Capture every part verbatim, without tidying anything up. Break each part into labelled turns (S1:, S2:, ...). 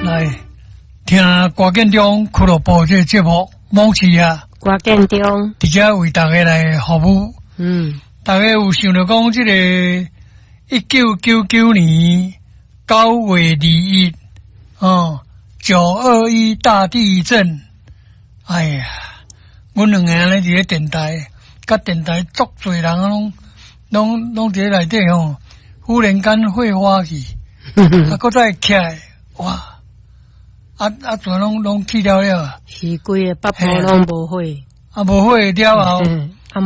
S1: 來聽歌建中俱樂部這個節目，網市啊，
S2: 歌建中，
S1: 佇遮為大家來服務。
S2: 嗯，
S1: 大家有想著講，這個一九九九年九月二一，哦，九二一大地震，哎呀，阮兩個按呢佇咧電台，佮電台足濟人攏攏攏佇咧內底吼，忽然間火花去，啊，閣再起來，哇！啊啊，全攏攏去了了，
S2: 是規个北部攏無火，
S1: 啊，無火了後，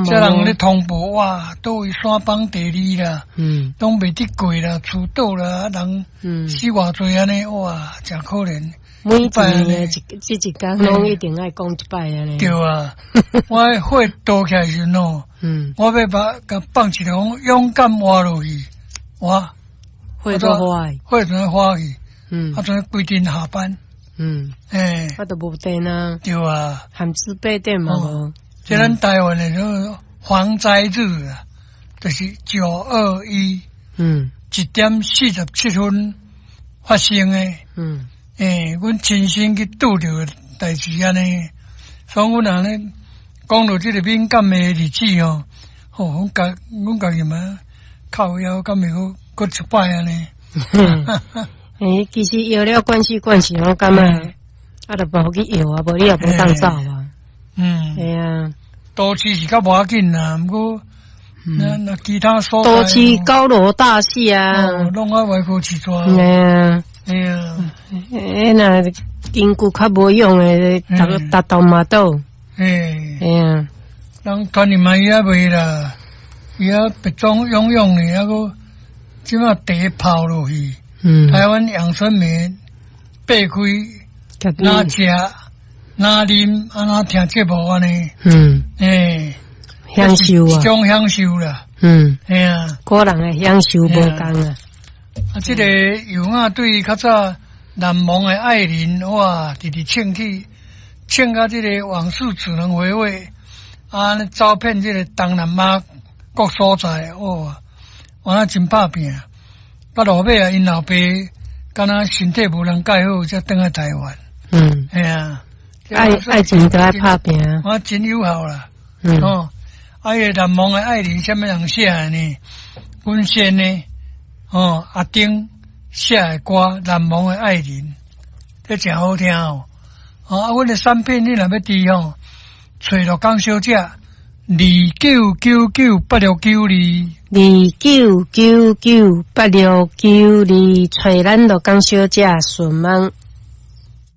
S2: 這
S1: 人咧通報，哇，佗位山崩地裂啦，
S2: 嗯，
S1: 攏袂得過啦，厝倒啦，啊人死偌濟按呢，哇，誠可憐。
S2: 每一年的一這一工攏一定愛講一擺按呢。
S1: 對啊，我火倒起來時陣哦，
S2: 嗯，
S1: 我欲把共放一个講勇敢活落去，哇，
S2: 火都火，
S1: 火全火去，
S2: 嗯，
S1: 啊，全規陣下班。
S2: 嗯，
S1: 欸，
S2: 啊，都無電啊，
S1: 對啊，
S2: 含自備電嘛無。
S1: 這咱台灣的這個防災日啊，就是九二一，
S2: 嗯，
S1: 一點四十七分發生的，
S2: 嗯，
S1: 欸，阮親身去拄著代誌按呢，所以阮按呢講著這個敏感的日子哦，吼，阮家阮家己嘛靠腰，敢會閣閣一擺按呢。
S2: 欸，其實搖了關係關係，我感覺啊，著無去搖啊，無你也無當走啊。
S1: 嗯，
S2: 對啊，
S1: 都市是較無要緊啦，毋過那那其他所在，
S2: 都市高樓大廈啊，
S1: 攏愛歪曲市大。
S2: 對啊，
S1: 對啊，
S2: 欸，若根據較無用的，逐逐棟嘛倒。
S1: 欸，
S2: 對啊，
S1: 人團林嘛伊也袂啦，伊也別裝勇勇的，抑閣這馬茶泡落去。
S2: 嗯，
S1: 台灣陽春麵擘開，若食若啉，啊若聽節目按呢？
S2: 嗯，
S1: 欸，
S2: 享受啊，
S1: 一種享受啦。
S2: 嗯，
S1: 嘿啊，
S2: 個人的享受無仝啊。
S1: 啊，這個尤亞對較早難忘的愛人，哇，直直唱起，唱甲這個往事只能回味，啊，走遍這個東南亞各所在，哇，我那真拍拚。到落尾啊，𪜶老爸敢若身體無人蓋好，才轉來台灣。
S2: 嗯，
S1: 嘿啊，
S2: 愛愛情都愛拍拚，
S1: 我真友好啦。
S2: 嗯，
S1: 哦，啊，彼個難忘的愛人，啥物人寫的呢？阮先呢？哦，阿丁寫的歌《難忘的愛人》，這誠好聽哦。哦，啊，阮的產品你若欲佇吼，揣陸江小姐，二九九九八六九二，
S2: 二九九九八六九二，揣咱陸江小姐順問。